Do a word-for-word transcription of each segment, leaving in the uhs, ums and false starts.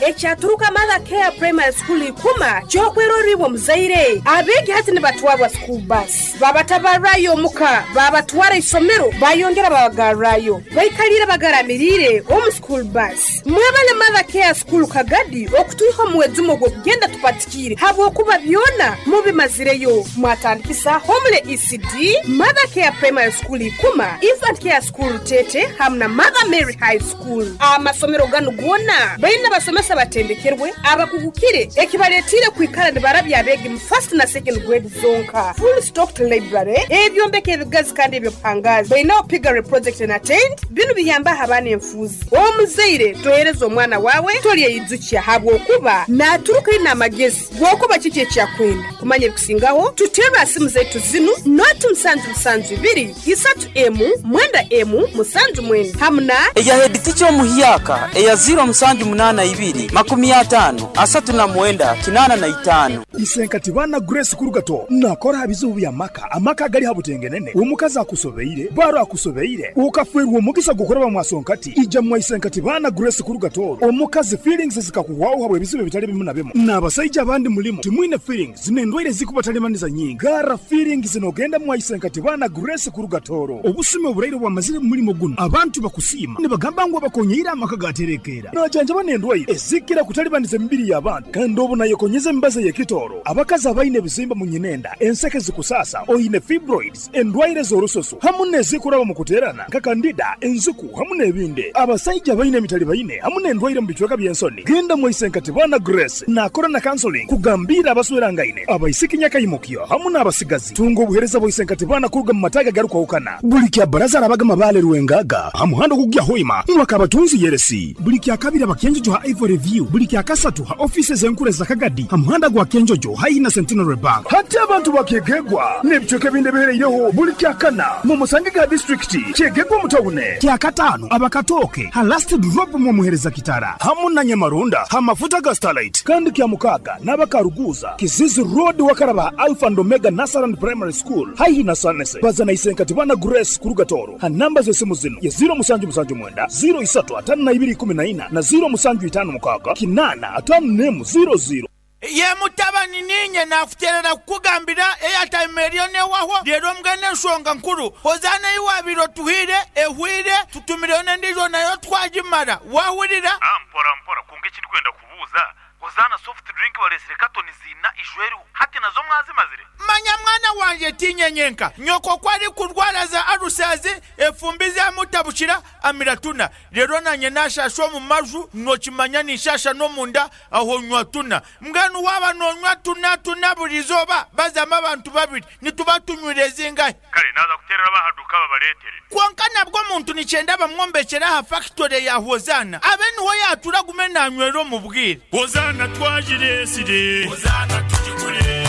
Ekyaturuka Mother Care Primary School ikuma kyokweroribwa muzaire. Abeegi hati nibatwarwa school bus. Babatabarrayo omuka, babatwara isomero, bayongera babagarrayo. Baikalire bagaramirire omu school bus. Mwebale Mother Care School Kagadi okutuiha omuwezumo gw'okugenda tupatikire habwokuba byona mubimazireyo. Mwatandikisa Homule E C D, Mother Care Primary School ikuma, Infant Care School Tete hamwe na Mother Mary High School. Amasomero ganu gona baina basomesa batendekerwe abakugukire ekibaletire kwikara nibarabya abegi mu first na second grade zonka. Full stocked library, ebyombeko ebigazi kandi ebyobuhangazi. Baina piggery project and attend binu biyamba abaana enfuzi. Omuzaire tohereza omwana wawe tolyeyijukia habwokuba naturuka ina amagezi gwokuba kiki ekyakwenda. Kumanya ebikusingaho tutera simu zetu zinu noti musanju musanju ibiri isatu emu mwenda emu musanju mwenda hamna eya head teacher omuhyaka eya zero musanju munana ibiri makumi atano asatu na mwenda kinana na itano. Isenkati bana Grace Kurugato nakora habizubu bya maka amaka gali habutengenene omukazi akusobeire baro akusobeire ukafwerwa omugisa gukora bamwasonkati ija mwa Isenkati bana Grace Kurugato omukazi feelings zikakuwaho habwe bizibu bitali bimu na bimu n'abasajja abandi mulimo timwine feelings n'endwaire zikubatalemaniza nyingi gara feelings nogenda mwa Isenkati bana Grace Kurugatoro obusime oburaire bwamazire mu mulimo guno abantu bakusiima nibagamba ngu abakonyeira amaka gaterekera najanja banendwaire ezikira kutalibaniza emibiri y'abantu kandi obu nayekonyeza embaza y'ekitoro abakazi abaine ebizimba mu nyinenda enseke zikusasa oyine fibroids endwaire z'orusoso hamu n'ezikuraba mu kuterana nka kandida enziku hamu n'ebindi abasajja abaine emitali baine hamu n'endwaire mu bicweka by'ensoni genda mu Isenkati bana Grace nakora na counseling kugambira abaswerangaine abaisiki nyakayimukyo hamu n'abasigazi tunga obuhereza bwa Isenkati bana kuruga mu mataga garukwahukana buli kya baraza arabagama bale rwengaga hamuhando kugya hoima mwakabatunzi yeresi buli kya kabiri abakenjojo ha Ivory View buli kya kasatu ha offices enkure za Kagadi hamuhanda gwa Kenjojo haihi na Centenary Bank hati abantu bakegegwa n'ebicweka ebindi bihereireho buli kya kana mu musange ga district kyegegwa mutawune kya katano abakatoke ha last drop mu muhereza kitara hamu na Nyamarunda ha mafuta ga Starlight kandi kya mukaga n'abakaruguza Kizizi Road wakaraba Alpha and Omega Nasaran Primary School haihi na Sanese bazana Isenkati bana Grace Kurugatoro ha namba z'esimu zino ya zero musanju musanju mwenda zero isatu atano na ibiri kumi na ina na zero musanju itano mukaga kinana atano nemu zero zero. Ye mutabani ninye nakuterera kukugambira airtime eriyo newaho rero mbwene ensonga nkuru hozana iwabiro tuhire ehwire tutumireyo n'endijo nayo twagimara wahurira. Ah, mpora mpora kunga ekindi kwenda kubuuza hozana soft drink balesire katoni zina ishweru hati nazo mwazimazire. Manya mwana wanje tinyenyenka nyoko kwari kurwara za arusazi efumbi zamutabukira amiratuna rero nanye nashasha mu maju nokimanya nishasha no munda aho nywa tuna mbwenu waba nonywa tuna tuna burizoba bazama abantu babiri nituba tunywire zingahe kale naza kuterera bahaduka babaletere konka nabwo muntu nicyenda bamwombekera ha factory ya Hozana abe niho yatura gume nanywero mu bwire. Hozana twajiresire Hozana tujigure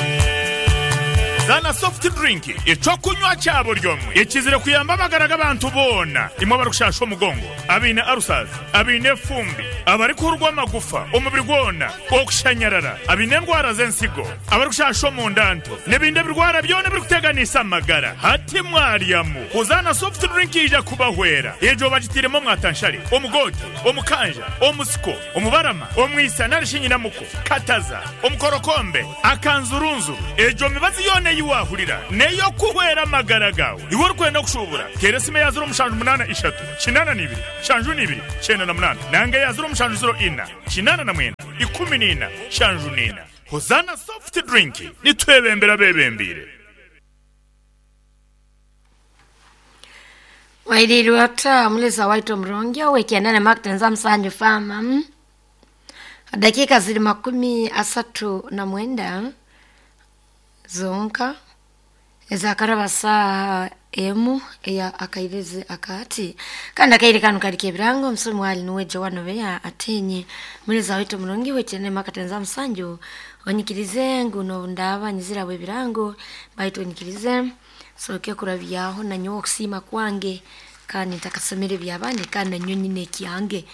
Zana soft drink ecokunywa cyabo ryomwe ekizire kuyamba amagara g'abantu bona imwe barukushasha omugongo abine arusazi abine fumbi abari kurwa amagufa omubiri gwona okushanyarara abine endwara z'ensigo abarikushasha omundanto n'ebindi ebirwara byona birikuteganisa amagara hati mwaryamu Hozana soft drink ija kubahwera ejo bagitiremo mwatanshari omugote omukanja omusiko omubarama omwisa narishinyinamuko kataza omukorokombe akanzurunzuru ejo mibazi yona yiwahurira neyo kuhwera amagara gawe iwe urikwenda kushubura teresime ya zero mushanju munana ishatu kinana nibiri shanju nibiri cyenda na munana nanga ya zero mushanju zero ina kinana na mwenda ikumi nina shanju nina. Hozana soft drink nitwebembera bebembire. Wailiriwata muleza waito mrongia wekianane maktenza msanju fama dakika zili makumi asatu na mwenda zonka ezakaraba saa emu eya akairezi akati kandi akaire kano kali kebirango omusomi wali nuwe Joan Obeya atenye muleza waitu mulungi wetene makatenza musanju onyikirize nguno ndaba nyizira bwe birango baitu onyikirize soke kurabyaho nanyo okusima kwange kandi ntakasomere byabandi kandi nanyo nyine kyange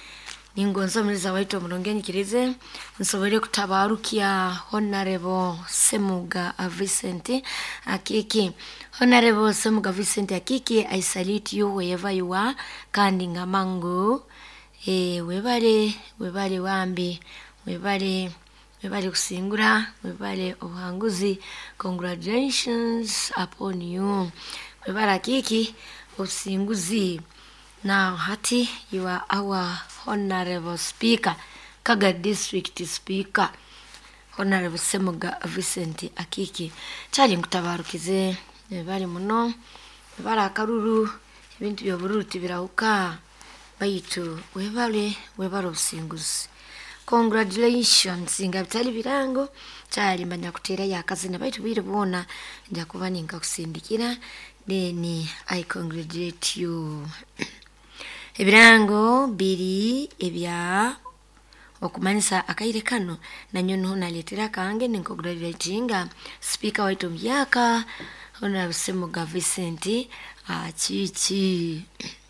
ningonzo muleza waitu mulungi onyikirize nsobole kutabarukia Honorable Semuga Vincent Akiki. Honorable Semuga Vincent Akiki, I salute you wherever you are kandi ngamangu e, webale webale wambi webale webale kusingura, webale obuhanguzi. Congratulations upon you, webale Akiki obusinguzi. Now hati you are our honorable speaker, Kaga district speaker, Honorable Semuga Vincent Akiki. Kyali nkutabarukize, webale muno, webale akaruru, ebintu by'obururu tibirahuka, baitu webale webale obusinguzi. Congratulations. Nga bitali birango kyali manya kuteera yakazina, baitu bwire bwona nja kuba ninkakusindikira, then I congratulate you. Ebirango biri ebya okumanyisa akaire kano nanyo niho naleetera kange ninkongratulatinga speaker waitu omuhyaka Honorable Semuga Vincent Akiki.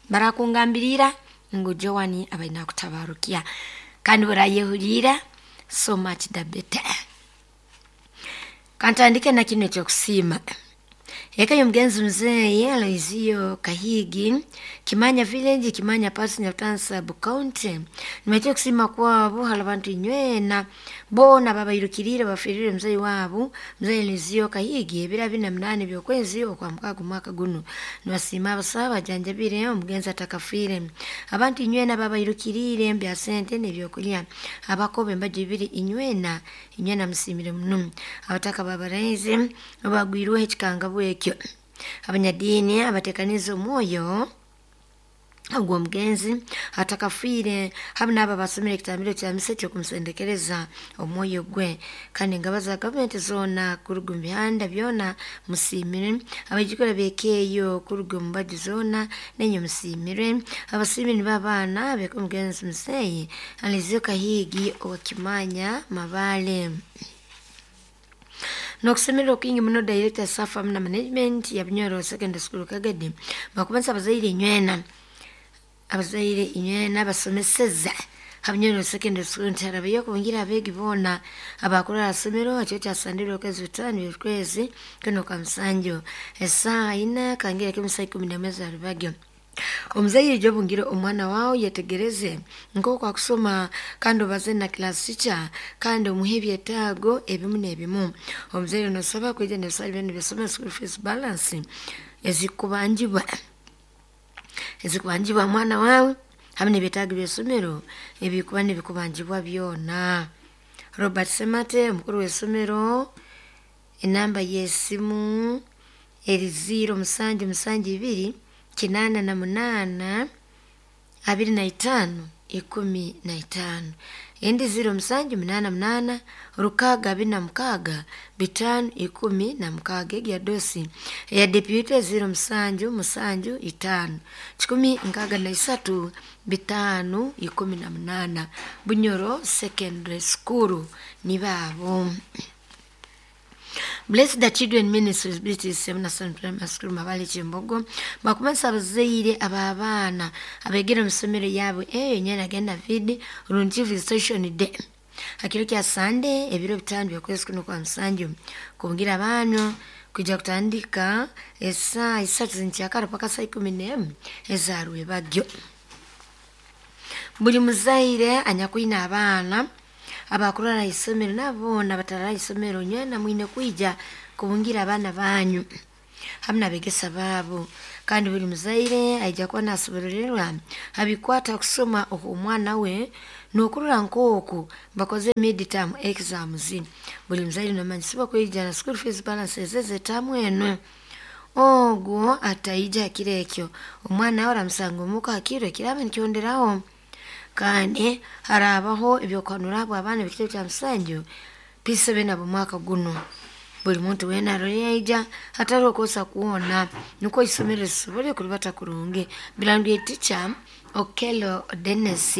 Barakungambirira ngu Joan abaina kutabarukia kandi burayehurira, so much the better. Kantandike na kino ekyokusiima. Eka y'omugenzi muzeeyi Aloysiyo Kahigi, Kimanya village, Kimanya pasi Nyabutansi sub county. Nibaija okusiima kwabo hali abantu inywena boona babairukiriire bafiirire muzeeyi waabo muzeeyi Aloysiyo Kahigi ebiro abiri na munaana by'okwezi okwa mukaaga omwaka guno. Nibasiima abasawo abajanjabire omugenzi atakafiire. Abantu inywena babairukiriire bya sente n'ebyokulya. Abakoba embaju ibiri inywena inywena musiimire muno. Abataka babaraize bagwirweho ekikangabwa ekyo. Abanyadiini abateekanize omwoyo ogw'omugenzi atakafiire hamu n'abo abasomere ekitambiro kya misa eky'okumusendekereza omwoyo gwe. Kandi engaba za gavumenti zoona kuruga omu bihanda byona musiimire. Abaijukuru b'ekeeyo kuruga omu mbaju zoona nenye musiimire. Abasiimire nibo abaana b'eka omugenzi muzeeyi Aloysiyo Kahigi owa Kimanya Mabale. Nokusemererwa kwingi muno director staff na management ya Bunyoro Secondary School Kagadi bakubanza abazaire inywena abazaire inywena basomeseza Habunyoro Secondary School ntarabayo kubungira abeegi boona abakora asomero ekyo kyasandirwe okwezi bitaano by'okwezi kuno kwa musanju esaaha ina kangira k'emisaha ikumi n'emwe za rubagyo. Omuzaire jobungire omwana wawe yetegereze nk'oku akusoma kandi obaze na class teacher kandi omuhe ebyetaago ebimu n'ebimu. Omuzaire nosaba kwija n'ebisale byona by'essomero school fees balance ezikubanjibwa ezikubanjibwa mwana wawe hamwe n'ebyetaago by'essomero ebikuba nibikubanjibwa byona. Robert Semate omukuru w'essomero, enamba y'esimu eri ziro musanju musanju ibiri kinana na munana abiri na itaano ikumi na itaano, endi ziro musanju munana munana rukaga abiri na mukaaga bitaano ikumi na mukaaga. Egi ya dosi eya deputy ziro musanju musanju itaano kikumi nkaaga na isatu bitaano ikumi na munana. Bunyoro Secondary School nibaabo. Bless the Children Ministries British Seminary Primary School Mabale Kyembogo bakumanisa abazaire ab'abaana abegere omu ssomero yaabwe eyo nyena agenda vidi runti visitation day hakiro kya Sunday ebiro bitaano by'okwezi kuno kwa musanju kubungira abaana kwijja kutandika esaaha isatu zinkyakara paka saa ikumi n'emu ezarwebagyo. Buli muzaire anyakwine abaana abakurara isomero nabo batarara isomero nywena mwine kwija kubungira abaana banyu hamwe n'abegesa baabo. Kandi buli muzaire aija kuba nasobororerwa abikwata kusoma omwana we n'okurora nk'oku bakoze mid-term exams. Buli muzaire nomanyisibwa kwija na school fees balance ez'etamu eno. Ogwo ataija hakiro ekyo omwana we aramusanga omuka hakiro ekiraba nikyonderaho. Kandi harabaho ebyokuhanura abo abaana b'ekitebe kya musanju P seven abo mwaka guno. Buli muntu weena arore yaija hatariho okwosa kwona nikwo isomero risobole kuribata kurungi. Birangire teacher Okello Dennis.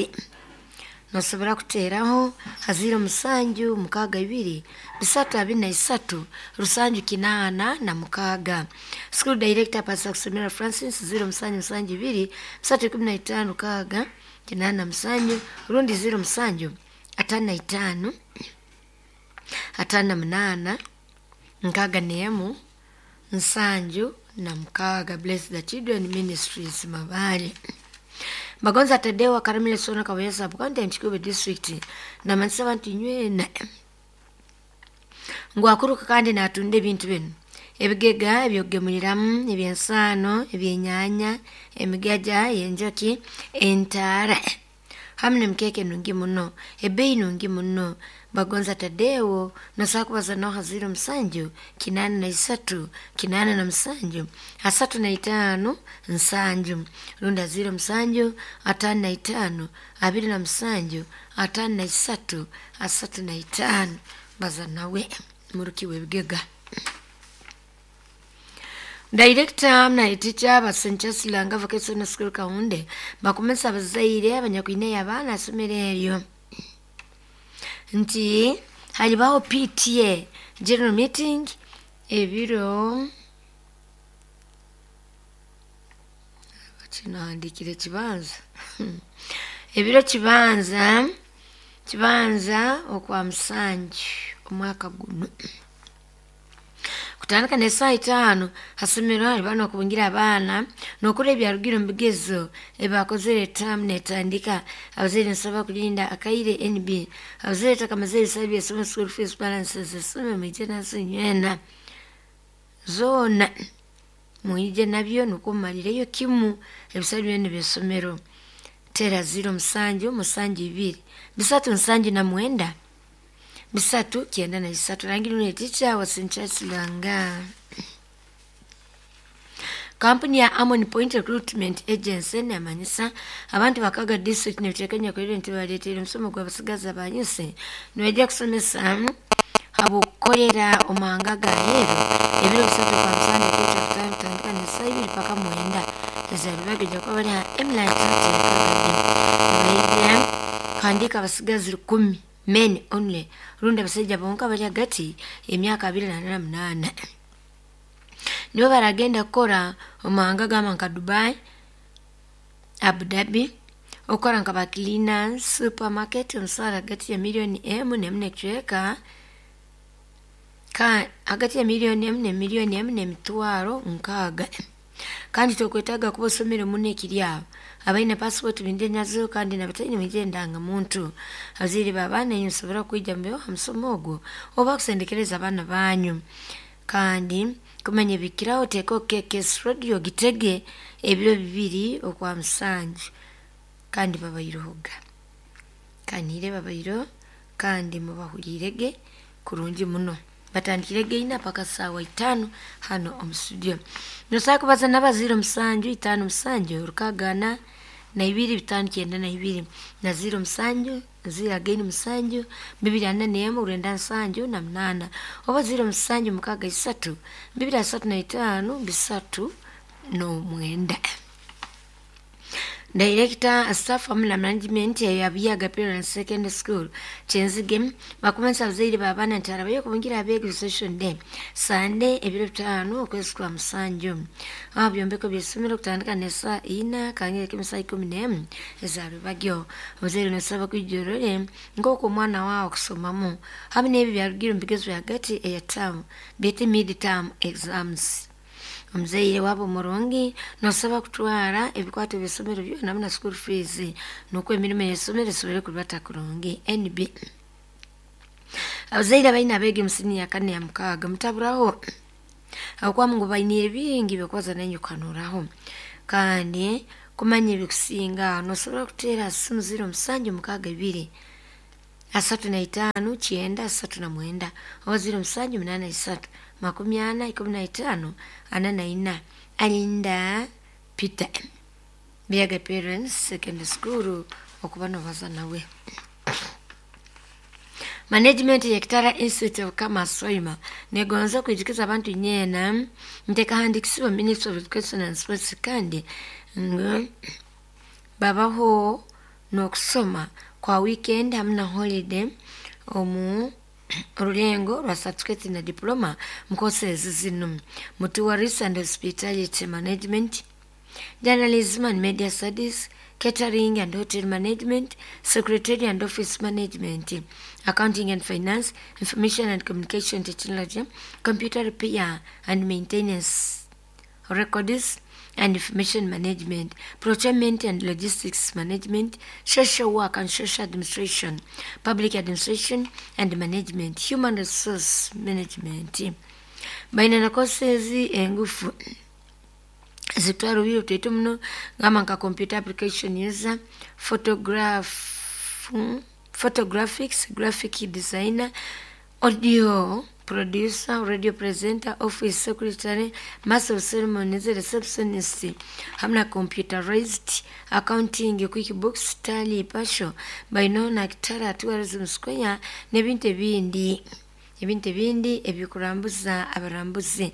Nosobora kuteeraho ha ziro musanju mukaaga ibiri bisatu abiri na isatu rusanju kinaana na mukaaga. School director Pastor Kusomera Francis ziro musanju musanju ibiri bisatu ikumi na itaano mukaaga kinaana musanju rundi ziro musanju ataano na itaano ataano na munaana nkaaga n'emu nsanju na mukaaga. Bless the Children Ministries Mabale. Bagonza Tadeo Karamile Sona Kawesa Bukonde Nchikube District na manisa abantu nywena ngwakuruka kandi natunda ebintu bino ebigega ebyogemuliramu ebyensaano ebyenyanya emigaja yenjoki entaara hamu nemikeke nungi muno ebeyi nungi muno. Bagonza Tadeo nosakubaza noha ziro musanju kinana na isatu kinana na musanju asatu na itano nsanju runda ziro musanju atano na itano abiri na musanju atano na isatu asatu na itano. Baza nawe muruki webigega. Director na teacher ba Saint Langa Vocational School Kaunde bakumesa abazaire abanyakwine abaana asomero eryo nti halibaho P T A general meeting ebiro kinahandikire kibanza ebiro kibanza kibanza okwa musanju omwaka guno kutandika ne saa itaano hasomero hali okubungira abaana n'okola ebyarugire mu bigezo ebakozere term netandika. Abazaire nsaba kulinda akaire N B abazaire takamaze ebisale by'essomero school fees balances essomero mwije nazo nywena zoona mwije nabyo nukwo mumalireyo kimu ebisale byona by'essomero. Tera ziro musanju musanju ibiri bisatu nsanju na mwenda bisatu kienda na isatu. Rangi nune teacher wa Saint Langa. Kampuni ya Amon Point Recruitment Agency nemanyisa abantu bakaga district nebitekanya kwere nti baleetera omusomo gw'abasigazi abanyuse nibajja kusomesa abukolera omanga gaheero ebiro bisatu kwa musande kweta kutano kutandika ne saa ibiri paka mwenda ezalibagejja kuba bali ha Emlight Hotel Kagadi nibaija kuhandika abasigazi rukumi men only rundi abasajja bonka bali hagati emyaka abiri na munaana nibo baragenda kukora omahanga gamba nka Dubai, Abu Dhabi, okukora nka ba cleaners, supermarket omusaara hagati ya miliyoni emu nemu nekicweka ka hagati ya miliyoni emu ne miliyoni emu n'emitwaro nkaaga. Kandi tokwetaaga kuba osomere muno ekiri aho abaine passport binde nazo kandi nabataine mwije ndangamuntu. Abazaire b'abaana inyu musobora kwija mubeho ha musomo ogwo oba kusendekereza abaana banyu. Kandi kumanya ebikiraho teeka K K S radio gitege ebiro bibiri okwa musanju kandi babairohoga kanire babairo kandi mubahulirege kurungi muno. Batandikirege ina paka sawa itano hano omu studio. Nosaba kubaza n'abaziro musanju itano musanju rukagana na ibiri bitano kyenda na ibiri na ziro musanju ziro again musanju bibiri ana nemu urenda nsanju na munana oba ziro musanju mukaga isatu bibiri asatu na itano bisatu no mwenda. Director staff amuna management ya Biaga Parents Secondary School Kyenzige bakumensa abazaire b'abaana nti arabayo kubungira abeegi session day Sunday ebiro bitano okwezi kwa musanju aho byombeko by'essomero kutandika ne saa ina kangere k'emisaa ikumi n'emu ezarubagyo. Omuzaire nosaba kwijorore nk'oku omwana waawe okusomamu hamu n'ebyo byarugire omu bigezo hagati eya term byete mid term exams. Omuzaire wabo murungi nosaba kutwara ebikwato by'essomero byona hamwe na school fees nukwo emirimo y'essomero esobole kurubata kurungi. N B abazaire abaine abeegi omu siniya ya kane ya mukaaga mutaburaho ahabwokuba ngu baine bingi by'okubaza nainyu kuhanuraho kandi kumanya ebikusinga nosobora kuteera simu ziro musanju mukaaga ibiri asatu na itano kyenda asatu na mwenda oba ziro musanju munaana isatu makumi ana ikumi na itano ana na ina. Alinda Peter Biaga Parents Secondary School okuba nobaza nawe. Management ya Kitara Institute of Commerce Soima negonza kwijukiza abantu nyena ntekahandikisibwa Ministry of Education and Sports kandi ngu babaho n'okusoma kwa weekend hamwe na holiday omu orulengo rwa certificate na diploma mu courses zino mu Tourism and Hospitality Management, Journalism and Media Studies, Catering and Hotel Management, Secretary and Office Management, Accounting and Finance, Information and Communication Technology, Computer Repair and Maintenance, Records, and Information Management, Procurement and Logistics Management, Social Work and Social Administration, Public Administration and Management, Human Resource Management. Baina na courses engufu zitwara obwire butaito muno ngamba nka computer application user, photograph, photographics, graphic designer, audio producer, radio presenter, office secretary, master of ceremonies, receptionist, hamna computerized accounting, QuickBooks, Tally, Pasho, baino na Kitara Tourism Square n'ebintu ebindi ebintu ebindi ebikurambuza abarambuzi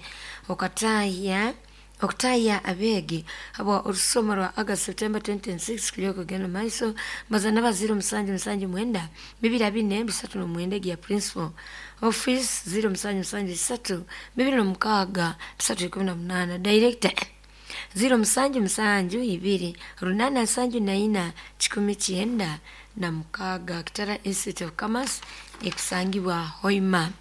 okataya okutaya abegi abo olusoma lwa August September twenty twenty-six kulyoko genda maiso bazana ba zero musanju musanju mwenda bibiri abine bisatu no mwenda ya principal office zero musanju musanju isatu bibiri no mukaga bisatu ikumi na munana director zero musanju musanju ibiri runana nsanju na ina kikumi kyenda na mukaga. Kitara Institute of Commerce ekusangibwa Hoima.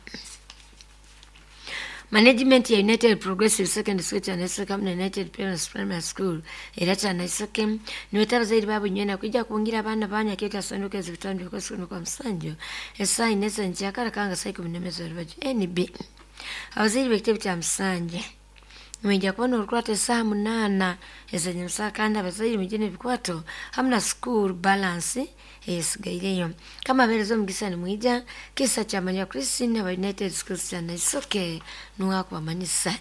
Management ya United Progressive Secondary School Kyanaiseke na United Parents Primary School era Kyanaiseke niweta abazaire baabo nywena kwijja kubungira abaana banyu aketa sanduka ezibitano by'okwezi kwa musanju esaaha ina ez'enkyakara kanga saa ikumi n'emwe z'orubaju N B. Abazaire b'ekitebe kya Musanje mwijja kubona orukwata esaaha munaana ez'enyamusaha kandi abazaire mwije n'ebikwato hamwe na school balance esigaireyo. Kama abeereza omugisa nimwija kisa kyamanya Christine aba United Schools Kyanaiseke nuwakubamanyisa.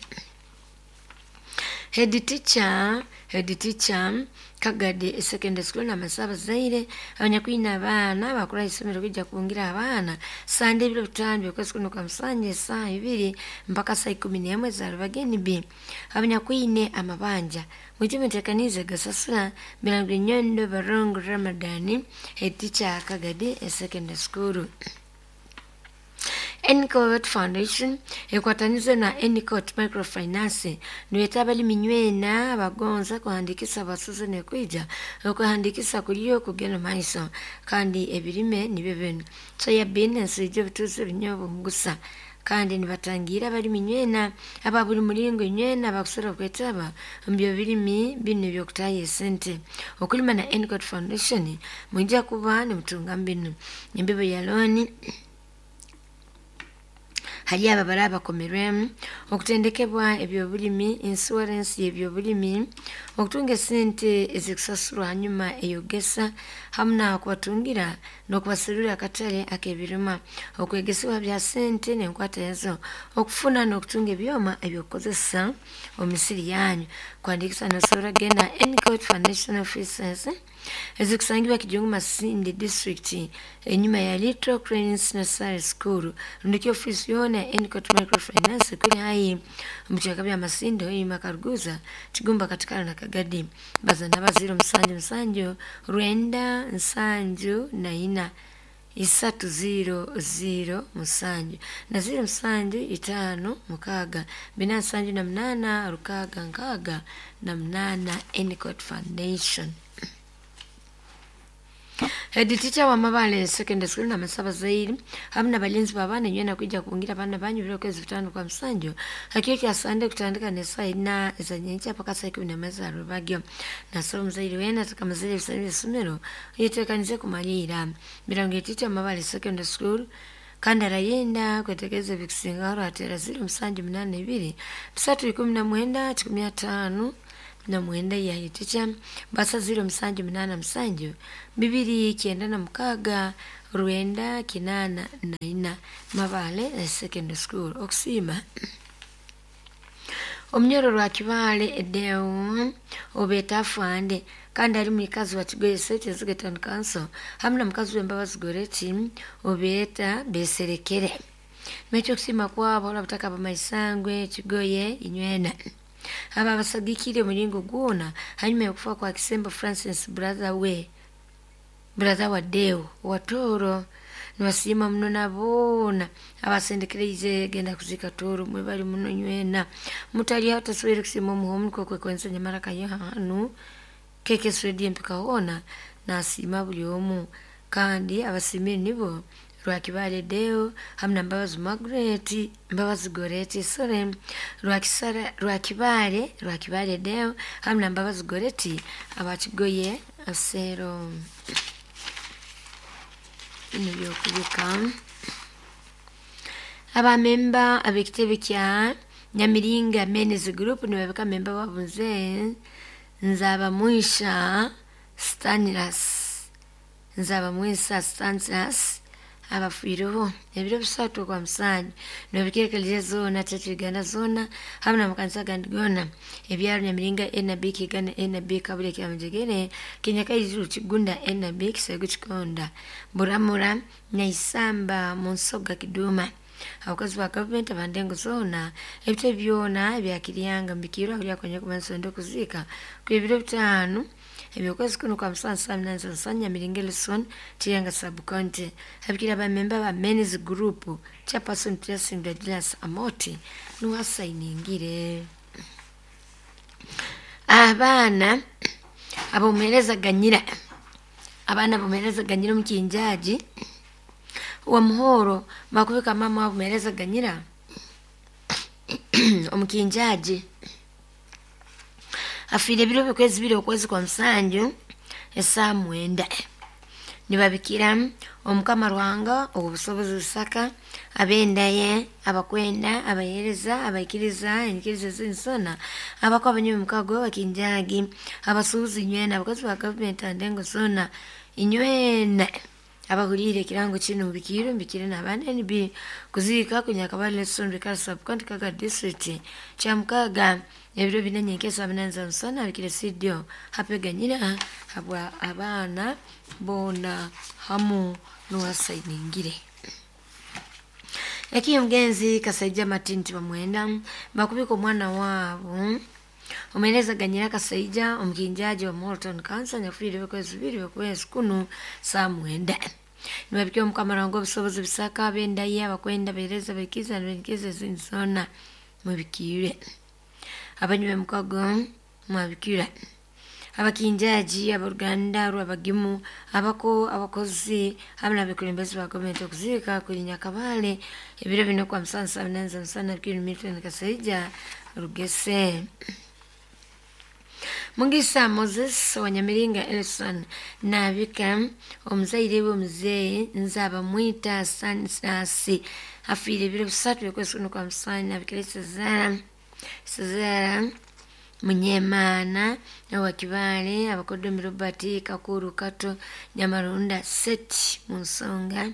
Head teacher, head teacher Kagadi Secondary School na masaba zaire abanyakwina abaana bakora isomero kujja kubungira abaana sande ebiro bitano by'okwezi kuno kwa Musanje saa ibiri mpaka saa ikumi n'emwe za rubageni B. Abanyakwine amabanja mwijumitekanize gasasula milango nyondo barongo Ramadani head teacher Kagadi Secondary School. Enicott Foundation ekwatanize na Enicott Microfinance niweta abalimi nywena bagonza kuhandikisa basuze nekwija okuhandikisa kuliyo kugenda maiso kandi ebirime nibyo bino soya bean ensijjo bituze ebinyobo mugusa kandi nibatangira abalimi nywena aba buli mulingo nywena bakusora kwetaba mbyo birimi bino byokutaye sente okulima na Enicott Foundation mwijja kuba nimutunga mbinu embibo ya loni hali aba baraba komerwemu okutendekebwa ebyobulimi insurance y'ebyobulimi okutunga sente ezikusasurwa hanyuma eyogesa hamna kubatungira n'okubaserura akatale ak'ebirima okwegesebwa bya sente n'enkwata yazo okufuna n'okutunga ebyoma ebyokukozesa omu misiri yanyu kwandikisa nosobola genda Enicott Foundation Offices ezikusangibwa Kijungu Masindi District enyuma ya Little Cranes Nursery School ndikyo office yona Enicott Microfinance kuli hayi mukyaka bya Masindi oyima Karuguza Kigumba katikala na Kagadi bazana baziro musanju musanju rwenda nsanju na ina isatu zero zero musanju na zero musanju itano mukaga bina nsanju na mnana rukaga nkaga na mnana Enicott Foundation. Head teacher wa Mabale Secondary School na masaba zairi hamna balinzi babana nywena kuja kubungira abana banyu biro kwezi bitano kwa Musanju hakiyo kya sande kutandika ne saa ina ezanyencha paka saa ikumi n'emwe za rubagyo na so mzairi wena tukamazire bisabire isomero yitekanize kumalira mirango teacher Mabale Secondary School kandi arayenda kwetegeza ebikusinga atera zero musanju munana ibiri bisatu ikumi na mwenda kikumi atano na mwenda ya teacher basa zero musanju munana musanju bibiri kyenda na mukaga rwenda kinana na ina Mabale Secondary School okusima omunyoro lwa Kibale edeo obeta afande kandi ali mukazi wa Kigoye State Executive Council hamna mukazi w'embabazi Goreti obeta beserekere mekyo kusima kwabo olabutaka bamaisangwe Kigoye inywena aba basagikire mulingo gwona hanyuma yokufa kwa Kisembo Francis brother we brother wa Deo watoro niwasima muno nabona abasendekereize genda kuzika toro mwe bali muno nywena mutali hata swere kusima omuhomu kokwe kwensa nyamara kayo hanu keke swedi mpika hona nasima buli omu kandi abasimire nibo Rwakibale Deo hamu na Mbabazi Margaret Mbabazi Goreti sore Rwakisara Rwakibale Rwakibale Deo hamu na Mbabazi Goreti abakigoye asero ino byokubika abamemba ab'ekitebe kya Nyamiringa Men's Group nibabika memba babunze nzaba mwisha Stanislas nzaba mwisha Stanislas abafiireho ebiro bisatu kwa musanju nobikerekereza zona Church Uganda zona hamwe n'amakanisa gandi gona ebyaro Nyamiringa N B Kigana N B Kabule Kyamujegere Kenya Kaijuru Kigunda N B Kisego Kikonda Buramura Nyaisamba Munsoga Kiduma abakozi ba gavumenti abandengo zona ebitebe byona ebyakiryanga mbikirwa kulya kwanya kumansondo kuziika ku ebiro bitaano ebyokwezi kuno kwa musanju saa munana za Nyamiringa Elson Kiryanga sub county abikira abamemba ba men's group chairperson Blessing Douglas Amoti nuwasayiningire abaana abomuhereza ganyira abaana abomuhereza ganyira omukinjaji wa muhoro bakubika mama abomuhereza ganyira omukinjaji afiire ebiro bikwezi biri okwezi kwa musanju esaa mwenda nibabikira omukama Ruhanga obusobozi busaka abendaye abakwenda abahereza abaikiriza enyikiriza zinsona abako abanyuma mukago abakinjagi abasuubuzi nywena abakozi ba gavumenti andengo zona inywena abahulire ekirango kino mbikire mbikire n'abaana N B kuziika kunyakabale Lesson Kara sub county Kaga district kyamukaga ebiro bina nyenkesa munana za musana abikire sidio hapeganyira habwa abaana bona hamu n'uwasayiningire ekiyo mugenzi Kasaija Matinti bamwenda bakubika omwana waabo omuhereza ganyira Kasaija omukinjaji wa Morton Council nyakufiire ebikwezi bibiri okwezi kuno saa mwenda nibabikira omukama Ruhanga obusobozi bisaka abendaye abakwenda abahereza abaikiza n'abaikiriza ezindi zona mubikire abanywi b'emukago mwabikira abakinjaji aboruganda rwabagimu abako abakozi hamwe n'abakulembeze ba gavumenti okuziika kuri Nyakabale ebiro bino kwa musanju saa munana za musana bikiri Milton Kasaija Rugese Mugisa Moses wa Nyamiringa Elson nabika omuzaire we omuzeeyi nzaba mwita Stanislas afiire ebiro bisatu ebikwezi kuno kwa musanju nabikira Sezara Sezara Munyemana wa Kibale abakodomi Robert Kakuru Kato Nyamarunda Seti Munsonga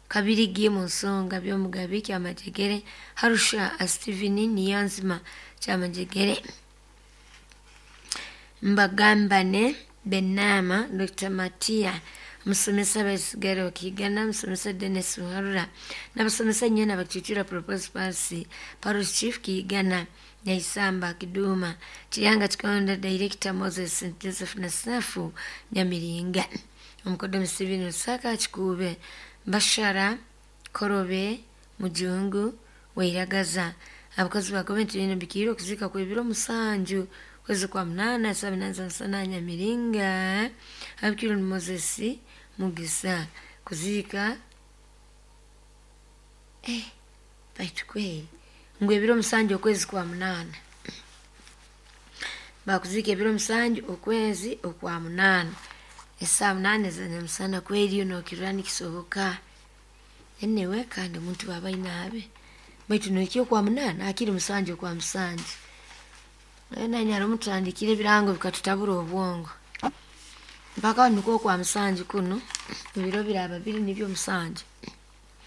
Kabirigi Munsonga Byomugabi Kyamajegere Harusha Steven Niyanzima Kyamajegere Mbagambane Benama Doctor Matia musomesa basigara wakigana musomesa Dennis Ruharura n'abasomesa nyena bakichura propose pasi parish chief Kigana Nyaisamba Kiduma Chiyanga Chikonda Director Moses Joseph Nasafu Nyamiringa omukodomi Steven Lusaka Kikube Bashara Korobe Mujungu Wairagaza abakozi ba gavumenti bino bikiro okuzika kwebiro musanju kwezi kwa munana saa munana za Nyamiringa abikiro ni Moses Mugisa kuzika eh baitu kweli ngo ebiro musanju okwezi kwa munana bakuzika ebiro musanju okwezi okwa munana esaa munane za nyamusana kweli nokirani kisoboka enewe kandi omuntu baba inabe baitu nokyo kwa munana akiri musanju kwa musanju naye nyaro mutandikire ebirango bikatutabura obwongo mpaka niko kwa musanju kuno ebiro biraba biri nibyo musanju.